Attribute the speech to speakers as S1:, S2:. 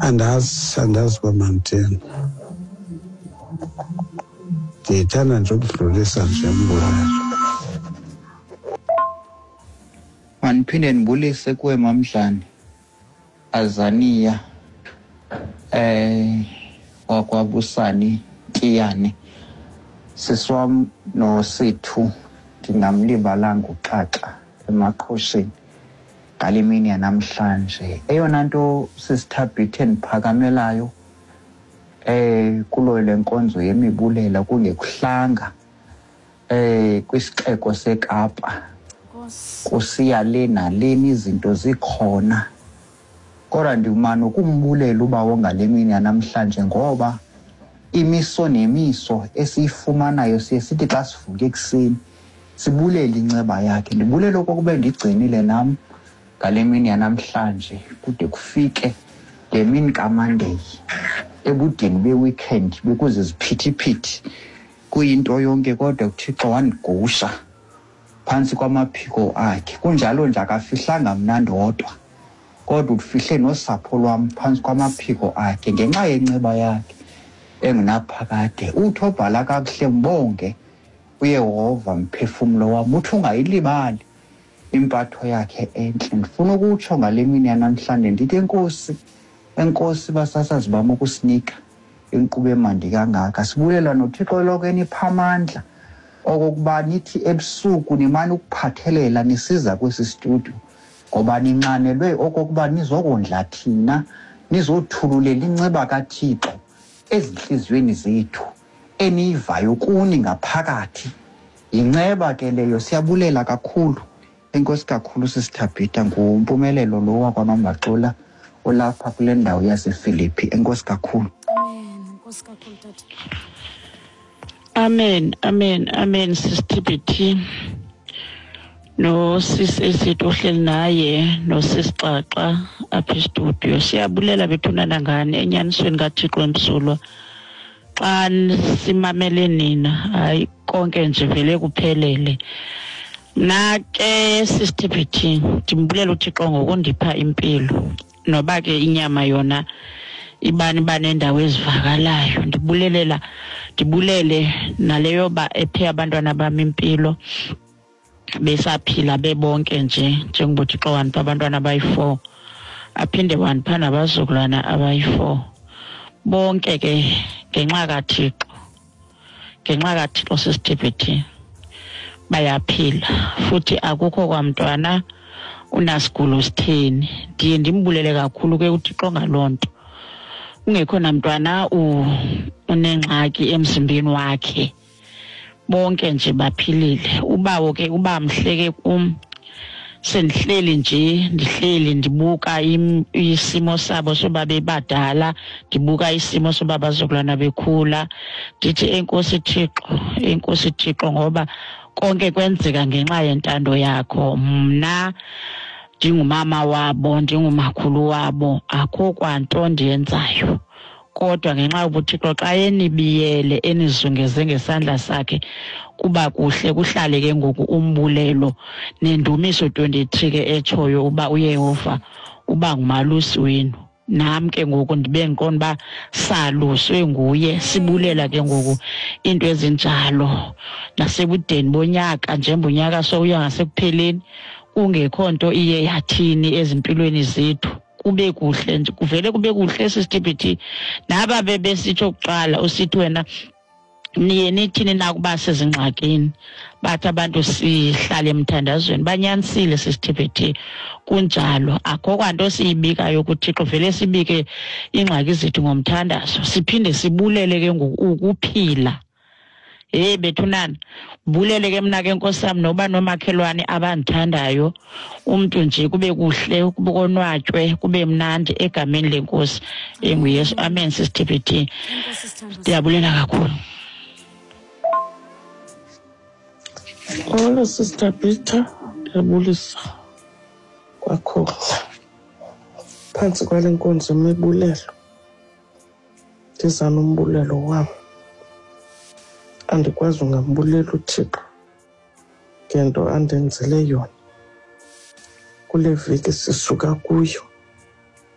S1: Andazi, andazi uba mandithini. Ndiyithanda nje ukudlulisa nje umbulelo.
S2: Mandiphinde ndibulise kuwe Mamdlane Azania eh wakwaBusani Ntiyane sisi wam noSithu ndingamlibalanga uXaxa emaqhosheni ngale mini yanamhlanje. Eyona nto sisithabhithe endiphakamelayo eh kulo le nkonzo yemibulela kungekuhlanga eh kwisixeko seKapa kusiya le naleni izinto zikhona kodwa ndimane ukumbulela ubawo ngale mini yanamhlanje ngoba imiso nemiso esiyifumanayo siye sithi xa sivuke ekuseni sibulele inceba yakhe. Ndibulele okokuba ndigcinile nam ngale mini yanamhlanje kude kufike le mini kaMandeyi ebudeni be-weekend bekuziziphithiphithi kuyinto yonke kodwa uThixo wandigusha phantsi kwamaphiko akhe. Kunjalo nje akafihlanga mna ndodwa kodwa ufihle nosapho lwam phantsi kwamaphiko akhe ngenxa yenceba yakhe engunaphakade. Uthi obhala kakuhle mbonge uYehova mphefumlo wam, uthi ungayilibali impatho yakhe entle. Ndifuna ukutsho ngale mini yanamhlanje ndithi enkosi, enkosi basasazi bam ukusinika inkqubo emandi kangaka. Sibulela noThixo eloko enipha amandla okokuba nithi ebusuku nimane ukuphathelela nisiza kwesi studio ngoba ninxanelwe okokuba nizokondla thina, nizothululela inceba kaThixo ezintliziyweni zethu eniyivayo kuni ngaphakathi. Yinceba ke leyo, siyabulela kakhulu. Enkosi kakhulu sisithabhitha, nguMpumelelo lo wakwaMambaxula olapha kule ndawo yaseFilipi. Enkosi kakhulu.
S3: Amen. Enkosi kakhulu tata.
S4: Amen, amen, amen sisithibhithi no sis esithi ohleli naye nosis Xaxa apha estudio. Siyabulela bethunana ngani enyanisweni kaThixo emsulwa. Xa simamele nina, hayi konke nje vele kuphelele. Mna ke sisithibhithi ndimbulela uThixo ngokundipha impilo, noba ke inyama yona ibani banendawo ezivakalayo. Ndibulelela, ndibulele naleyo ba ephe abantwana bam impilo besaphila bebonke nje, njengoba uThixo wandipha abantwana abayi-4, aphinde wandipha nabazukulwana abayi-4. Bonke ke ngenxa kaThixo, ngenxa kaThixo sisithibhithi bayaphila, futhi akukho kwamntwana unasigulo sitheni. Ndiye ndimbulele kakhulu ke uThixo ngaloo nto. Kungekho namntwana unengxaki emzimbeni wakhe, bonke nje baphilile. Ubawo ke uba mhle ke kum, sendihleli nje, ndihleli ndibuka isimo sabo soba bebadala, ndibuka isimo soba bazukulwana bekhula, ndithi enkosi Thixo, enkosi Thixo, ngoba konke kwenzeka ngenxa yentando yakho. Mna ndingumama wabo, ndingumakhulu wabo, akho kwanto ndiyenzayo, kodwa ngenxa yobuThixo xa enibiyele enizungeze ngesandla sakhe kuba kuhle, kuhlale ke ngoku umbulelo nendumiso 23 ke etshoyo uba uYehova uba ngumalusi wenu. Nam ke ngoku ndibe ndiqonda uba saluswe nguye. Sibulela ke ngoku iinto ezinjalo nasebudeni bonyaka, njengoba unyaka sowuya ngasekupheleni kungekho nto iye yathini ezimpilweni zethu, kube kuhle nje, kuvele kube kuhle sisithibhithi. Naba bebesitsho kuqala usithi wena niye nithini nakuba sezingxakini, bathi abantu sihlale emthandazweni. Banyanisile sisithibhithi, kunjalo, akho kwanto siyibikayo kuThixo, vele sibike iingxaki zethu ngomthandazo, siphinde sibulele ke ngoku ukuphila. Hey bethunana, bulele ke mna ke nkosi yam noba nomakhelwane abandithandayo, umntu nje kube kuhle, kube konwatywe, kube mnandi egameni lenkosi enguYesu. Amen sisithibhithi, ndiyabulela kakhulu.
S5: Molo Sister Peter, ndiyabulisa kwakhona phantsi kwale nkonzo yemibulelo. Ndiza nombulelo wam, andikwazi ungambulela uThixo ngento andenzele yona kule veki sisuka kuyo.